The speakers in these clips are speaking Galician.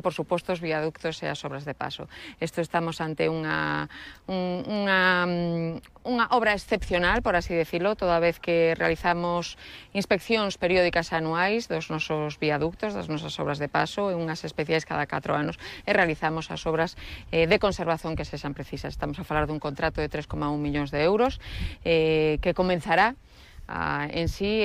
por suposto, os viaductos e as obras de paso. Isto estamos ante unha obra excepcional, por así decirlo, toda vez que realizamos inspeccións periódicas anuais dos nosos viaductos, das nosas obras de paso, e unhas especiais cada 4 anos, e realizamos as obras de conservación que sexan precisas. Estamos a falar dun contrato de 3,1 millóns de euros que comenzará en sí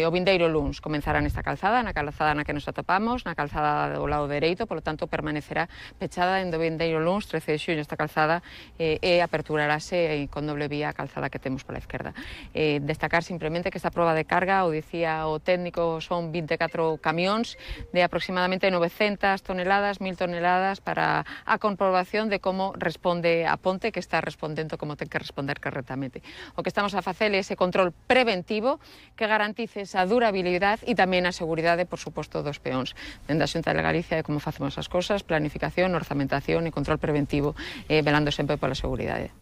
o vindeiro luns. Comenzará nesta calzada, na calzada na que nos atopamos, na calzada do lado dereito, polo tanto permanecerá pechada en do vindeiro luns, 13 de xuño, esta calzada e aperturarase con doble vía a calzada que temos pola esquerda. Destacar simplemente que esta proba de carga, o dicía o técnico, son 24 camións de aproximadamente 900 toneladas, 1000 toneladas para a comprobación de como responde a ponte, que está respondendo como ten que responder correctamente. O que estamos a facer é ese control preventivo que garantice esa durabilidade e tamén a seguridade, por suposto, dos peóns. Dende a Xunta de Galicia, como facemos as cosas, planificación, orzamentación e control preventivo, velando sempre pola seguridade.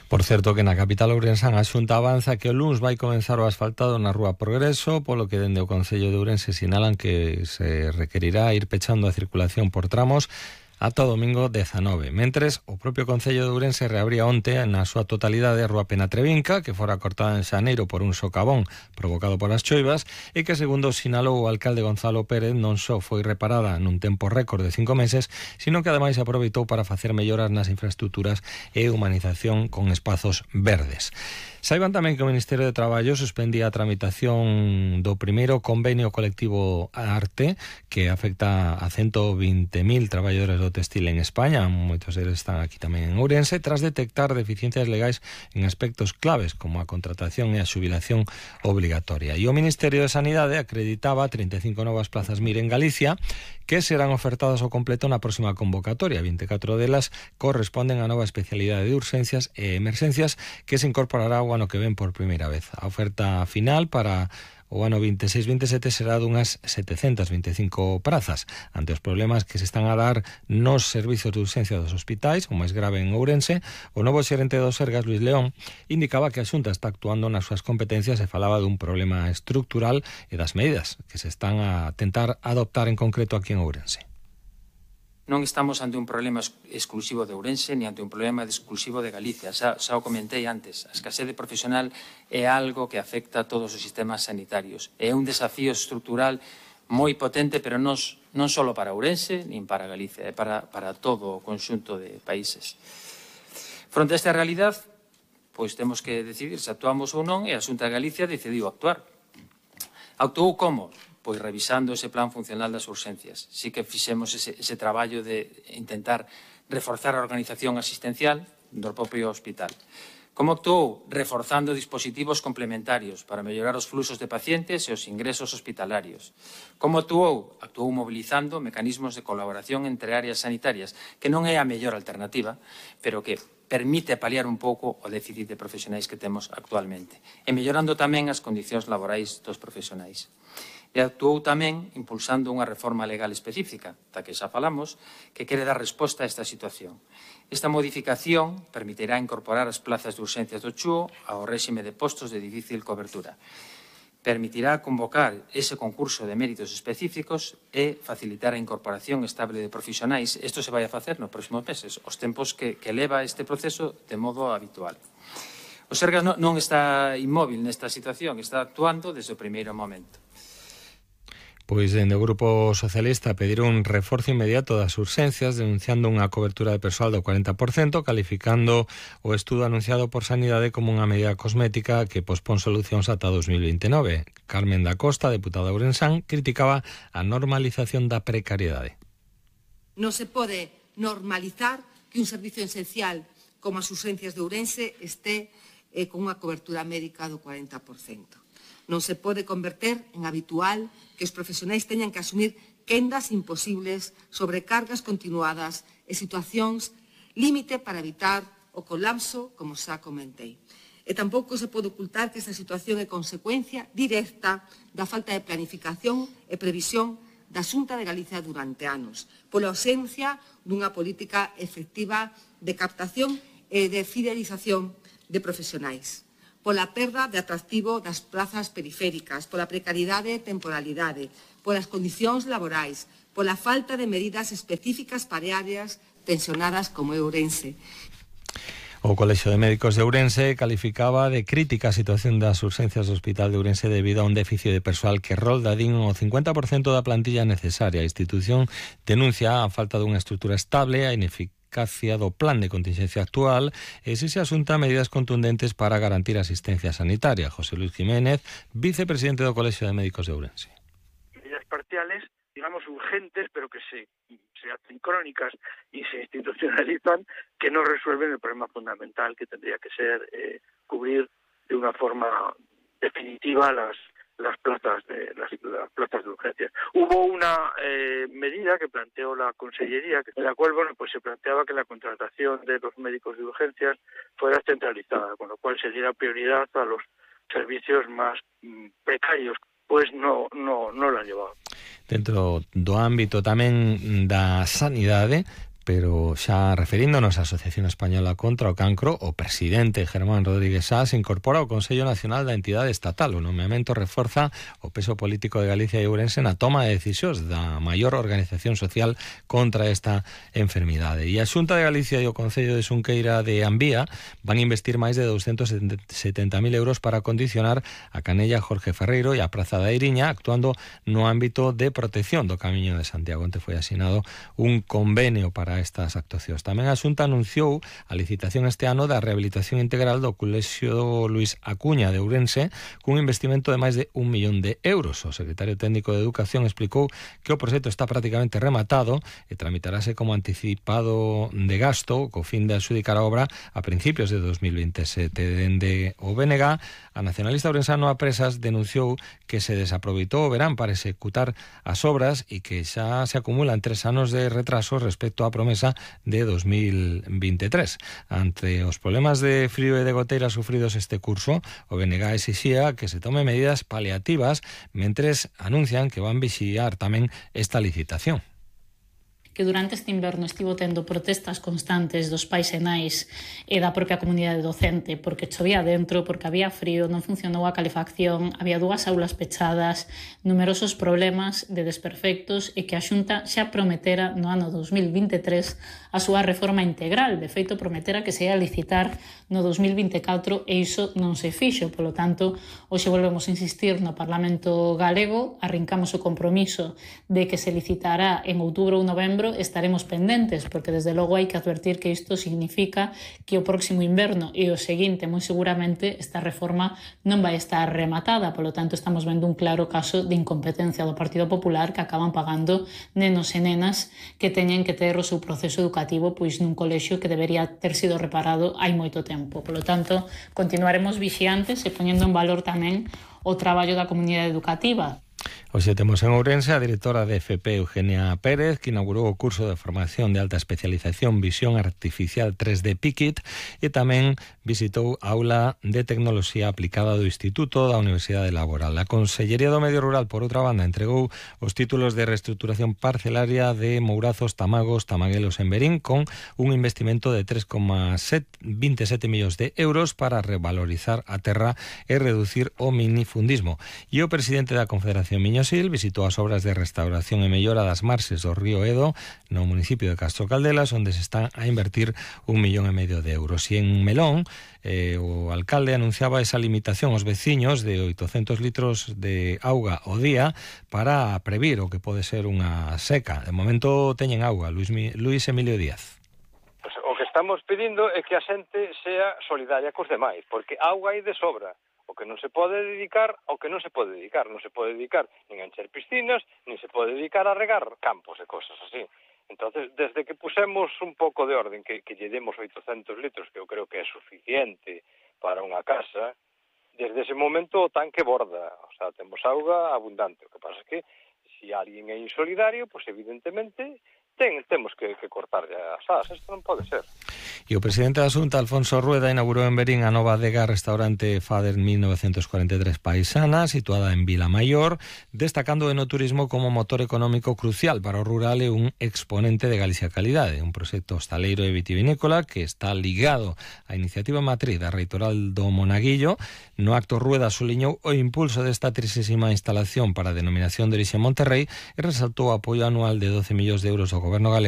Por certo que na capital ourensán a Xunta avanza que o luns vai comenzar o asfaltado na Rúa Progreso, polo que dende o Concello de Ourense sinalan que se requerirá ir pechando a circulación por tramos ata o domingo 19. Mentres, o propio Concello de Ourense reabría onte na súa totalidade a Rúa Penatrevinca, que fora cortada en xaneiro por un socavón provocado polas choivas, e que, segundo sinalou o alcalde Gonzalo Pérez, non só foi reparada nun tempo récord de 5 meses, sino que ademais aproveitou para facer melloras nas infraestructuras e humanización con espazos verdes. Saiban tamén que o Ministerio de Traballo suspendía a tramitación do primeiro convenio colectivo Arte, que afecta a 120.000 traballadores do textil en España, moitos deles están aquí tamén en Ourense, tras detectar deficiencias legais en aspectos claves como a contratación e a xubilación obligatoria. E o Ministerio de Sanidade acreditaba 35 novas plazas MIR en Galicia que serán ofertadas ao completo na próxima convocatoria. 24 delas corresponden á nova especialidade de urxencias e emerxencias que se incorporará o ano que ven por primeira vez. A oferta final para o ano 26-27 será dunhas 725 prazas. Ante os problemas que se están a dar nos servizos de urxencia dos hospitais, o máis grave en Ourense, o novo xerente do Sergas, Luis León, indicaba que a Xunta está actuando nas súas competencias e falaba dun problema estructural e das medidas que se están a tentar adoptar en concreto aquí en Ourense. Non estamos ante un problema exclusivo de Ourense ni ante un problema exclusivo de Galicia. Xa o comentei antes, a escasez de profesional é algo que afecta a todos os sistemas sanitarios. É un desafío estrutural moi potente, pero non só para Ourense nin para Galicia, é para todo o conxunto de países. Fronte a esta realidade, pois temos que decidir se actuamos ou non, e a Xunta de Galicia decidiu actuar. Actuou como? Pois revisando ese plan funcional das urxencias. Sí que fixemos ese traballo de intentar reforzar a organización asistencial do propio hospital. Como actuou? Reforzando dispositivos complementarios para mellorar os fluxos de pacientes e os ingresos hospitalarios. Como actuou? Actuou mobilizando mecanismos de colaboración entre áreas sanitarias, que non é a mellor alternativa, pero que permite paliar un pouco o déficit de profesionais que temos actualmente. E mellorando tamén as condicións laborais dos profesionais. E actuou tamén impulsando unha reforma legal específica, da que xa falamos, que quere dar resposta a esta situación. Esta modificación permitirá incorporar as plazas de urxencias do CHUO ao réxime de postos de difícil cobertura. Permitirá convocar ese concurso de méritos específicos e facilitar a incorporación estable de profesionais. Isto se vai a facer nos próximos meses, os tempos que leva este proceso de modo habitual. O Sergas non está inmóvil nesta situación, está actuando desde o primeiro momento. Pois dende o Grupo Socialista pediron un reforzo inmediato das urxencias, denunciando unha cobertura de persoal do 40%, calificando o estudo anunciado por Sanidade como unha medida cosmética que pospón solucións ata 2029. Carmen da Costa, deputada ourensán, criticaba a normalización da precariedade. Non se pode normalizar que un servicio esencial como as urxencias de Ourense este con unha cobertura médica do 40%. Non se pode converter en habitual que os profesionais teñan que asumir quendas imposibles, sobrecargas continuadas e situacións límite para evitar o colapso, como xa comentei. E tampouco se pode ocultar que esta situación é consecuencia directa da falta de planificación e previsión da Xunta de Galicia durante anos, pola ausencia dunha política efectiva de captación e de fidelización de profesionais, pola perda de atractivo das plazas periféricas, pola precariedade e temporalidade, polas condicións laborais, pola falta de medidas específicas para áreas tensionadas como Ourense. O Colexio de Médicos de Ourense calificaba de crítica a situación das urxencias do Hospital de Ourense debido a un déficit de persoal que rolda din o 50% da plantilla necesaria. A institución denuncia a falta dunha estrutura estable, a ineficacia do plan de contingencia actual e se asunta medidas contundentes para garantir a asistencia sanitaria. José Luis Jiménez, vicepresidente do Colexio de Médicos de Ourense. Medidas parciales, digamos, urgentes, pero que se hacen crónicas y se institucionalizan, que no resuelven el problema fundamental que tendría que ser cubrir de una forma definitiva las plazas de urgencias. Hubo una medida que planteó la Consellería, en la cual pues se planteaba que la contratación de los médicos de urgencias fuera centralizada, con lo cual se diera prioridad a los servicios más precarios. Pues no lo han llevado. Dentro do ámbito tamén da sanidade, pero xa referíndonos á Asociación Española contra o Cancro, o presidente Germán Rodríguez Sá se incorpora ao Consello Nacional da Entidade Estatal. O nomeamento reforza o peso político de Galicia e Ourense na toma de decisións da maior organización social contra esta enfermidade. E a Xunta de Galicia e o Concello de Xunqueira de Ambía van investir máis de 270.000 euros para condicionar a Canella Jorge Ferreiro e a Praza da Iriña, actuando no ámbito de protección do Camiño de Santiago. Onte foi asinado un convenio para estas actuacións. Tamén a Xunta anunciou a licitación este ano da rehabilitación integral do Colexio Luis Acuña de Ourense cun investimento de máis de 1 millón de euros. O secretario técnico de Educación explicou que o proxecto está prácticamente rematado e tramitarase como anticipado de gasto co fin de adxudicar a obra a principios de 2027. Dende o BNG, a nacionalista ourensano a Presas denunciou que se desaproveitou o verán para executar as obras e que xa se acumulan 3 anos de retraso respecto á promesa de 2023. Ante os problemas de frío e de goteira sufridos este curso, o BNG exixía que se tome medidas paliativas mentres anuncian que van vixiar tamén esta licitación. Que durante este inverno estivo tendo protestas constantes dos pais e nais e da propia comunidade docente porque chovía dentro, porque había frío, non funcionou a calefacción, había 2 aulas pechadas, numerosos problemas de desperfectos e que a Xunta xa prometera no ano 2023 a súa reforma integral. De feito, prometera que se ia licitar no 2024 e iso non se fixo. Polo tanto, hoxe volvemos a insistir no Parlamento galego, arrincamos o compromiso de que se licitará en outubro ou novembro. Estaremos pendentes, porque desde logo hai que advertir que isto significa que o próximo inverno e o seguinte, moi seguramente, esta reforma non vai estar rematada. Polo tanto, estamos vendo un claro caso de incompetencia do Partido Popular que acaban pagando nenos e nenas que teñen que ter o seu proceso educativo pois nun colexio que debería ter sido reparado hai moito tempo. Polo tanto, continuaremos vixiantes e poñendo en valor tamén o traballo da comunidade educativa. Hoxe temos en Ourense a directora de FP, Eugenia Pérez, que inaugurou o curso de formación de alta especialización Visión Artificial 3D PICIT e tamén visitou a aula de tecnoloxía aplicada do Instituto da Universidade Laboral. A Consellería do Medio Rural, por outra banda, entregou os títulos de reestruturación parcelaria de Mourazos, Tamagos, Tamaguelos en Verín con un investimento de 3,27 millóns de euros para revalorizar a terra e reducir o minifundismo. E o presidente da Confederación Miñosil visitou as obras de restauración e mellora das marxes do río Edo no municipio de Castro Caldelas, onde se están a invertir 1,5 millón de euros. E en Melón, o alcalde anunciaba esa limitación aos veciños de 800 litros de auga ao día para previr o que pode ser unha seca. De momento teñen auga. Luis Emilio Díaz. Pues o que estamos pedindo é que a xente sea solidaria cos demais, porque auga hai de sobra. O que non se pode dedicar ao que non se pode dedicar. Non se pode dedicar nin a encher piscinas, nin se pode dedicar a regar campos e cosas así. Entonces, desde que pusemos un pouco de orden, que lle demos 800 litros, que eu creo que é suficiente para unha casa, desde ese momento o tanque borda. O sea, temos auga abundante. O que pasa é que, se alguén é insolidario, pues evidentemente temos que cortar as as, isto non pode ser. E o presidente da Xunta, Alfonso Rueda, inaugurou en Verín a nova adega restaurante Fader 1943 Paisana, situada en Vilamaior, destacando o enoturismo como motor económico crucial para o rural e un exponente de Galicia Calidade, un proxecto hostaleiro e vitivinícola que está ligado á iniciativa matriz da Reitoral do Monaguillo. No acto, Rueda suliñou o impulso desta 30ª instalación para a denominación de orixe Monterrey e resaltou o apoio anual de 12 millóns de euros do Goberno galego